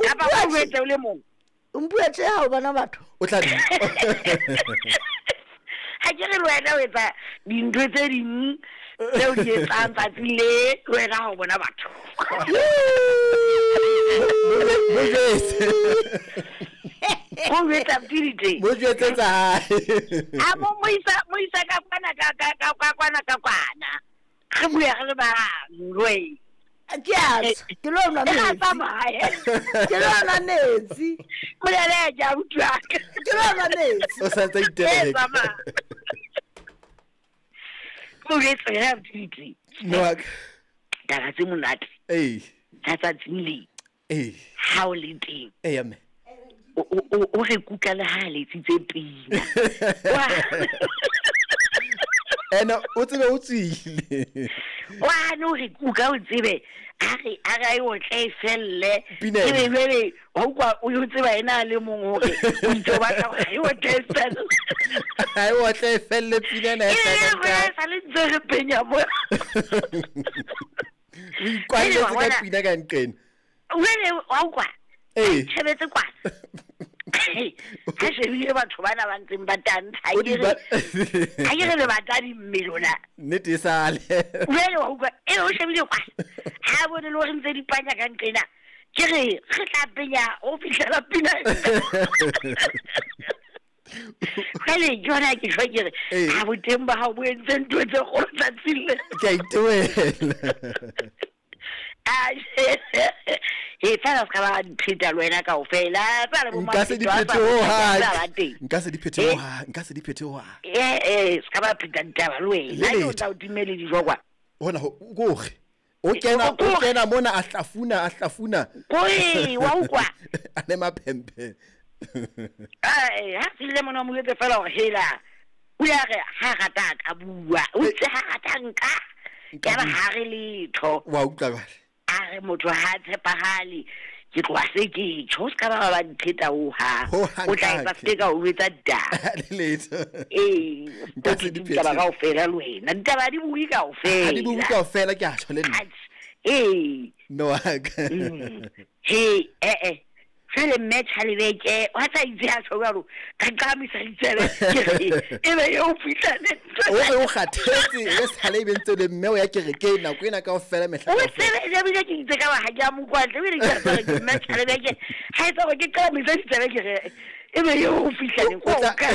Kapa o jwetse o le mong. O mpua tje ha o bona batho. O tla di. Ha ke re le wena o etsa dintho tse ding tse o di etsang tsatsi le le wena ha o bona batho. Mo jwetse. O jwetsa pidite. Mo jwetse tsa hae. A mo mo isa mo isa ka kwana ka ka ka ka kwana ka kwana. Re bua re le bang we. Ke a tswa, ke lo nwa E ga metsi. tsamaye. Ke lo nwa metsi. Molele ja utlwa. Ke lo nwa metsi. O sa ntse E iteleka. tsamaya. Mo jwetse ya pidite. Mme wa ka. Taba tse monate Ee. tsa tsatsing le Ee. ha o le teng. Ee mme. O re kuka le ha letsitse pina. Ene o tsebe o tswile. Wa no re kuka o tsebe a re a re o tle e felle. Pina ena. Ebe jwale wa utlwa o yo tseba ena a le mong hore o itse o batla hore e o tle e felle. Ha e otle e felle pina ena e E hlaka re ka. sa le ntse re penya mo. O ikwalletse Jwale wa ka bona- pina ka nqena. Jwale wa utlwa. Ee. Tshebetse kwana. Ha shebile batho bana ba ntseng ba tantsha O di ba ha ke re le batadi mme lona. Nnete e sale. Jwale wa utlwa e o shebile kwa. Ha bone le hore ntse di panya ka nqena. Ke re re tla penya ho fihlela pina. Jwale ke yona ke tjho ke re Ee. ha boteng ba hao bo entse ntho tse kgolo tsatsing le. Ke a itewela. Ah, e fela se ka ba dipheta le wena kaofela. Tsa le bo Nka se di Mapheto a phethe sa ho ba hang. teng. Nka se di phethe ho hang. Nka se di phethe ho hang. Eh se ka ba pheta ditaba le wena. Le Ha ke o letho. tla o timele dijo kwa. Hona ho kore. O kena o Kore. kena mona a hlafuna a hlafuna. Kore wa utlwa. A le maphemphe. Ai, ha fihle mona o mo jwetse fela hore hela. O ya re ha rata a ka bua. O itse ha rata nka. Nka Ya ba bua. ha re letho. Wa utlwa jwale. A re motho ha a tshepahale. Ke tloha se ke tjho o se ka ba ba dipheta ho hang. Ho hang O tla etsa kake. se ka o jwetsa ditaba. Le letho. Ee, Nka se di ditaba phethe. kaofela le wena. Ditaba di bue kaofela. Ha di bue kaofela ke a tjho le nna. Atjhe, Ee. Mme wa ka. He, eh eh. Jwale mme Tjhalebeke, wa tla itse a tjho jwalo, ka qamisa ditsebe, ke re, ebe eo fihla le O re o kgathetse e sale e be ntse le mme o ya kerekeng nako ena kaofela mehla O kaofela. tsebe, ebile ke itse ka ba ha ke a mo utlwa hantle, ebile ke a tseba hore ke mme Tjhalebeke, ha etsa hore ke qamise ditsebe ke re, ebe eo o fihla neng, O tla- o kae?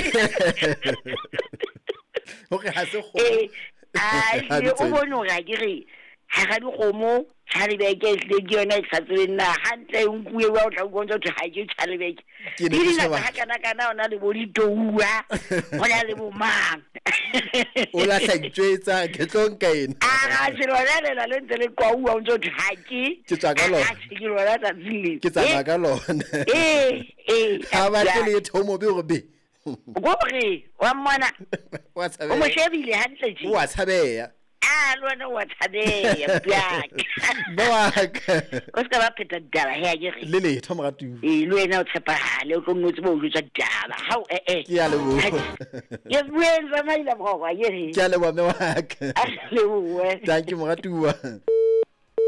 Hore ha se kgomo. Ee, a Ha ehlile di o tsebe. bone hore ha ke re, hara dikgomo, Tjhalebeke ehlile ke yona e ke sa tsebeng na hantle e nkuwe wa o tla utlwa o ntse ho thwe ha ke Tjhalebeke. Ke ne Di ke dingata sheba. ha kana-kana ho na le bo ditouwa, ho na le bo mang. O lahla itjwetsa ke tlo nka ena. A se lona lela le ntse le qwauwa o ntse ho thwe ha ke. Ke tswa ka lona. Atjhe, ke lona tsatsing lena. Ke tsamaya ka lona. Eh, eh. Ha batle letho o mobe hore be. Kore, wa mmona. Wa O mo tshabeha. shebile hantle tje. O a tshabeha. A le wena o a tshabeha, Mpiaka. Mme wa ka. O se ka ba pheta ditaba he a ke re. Le letho moratuwa. Ee, le wena o tshepahale, o tlo nno tsebe ho jwetsa ditaba. Hao, eh, eh. Ke a leboha. Ke bueng tsamaile mokgwa, ke re. Ke a leboha mme wa ka. A lebohe. Thank you moratuwa.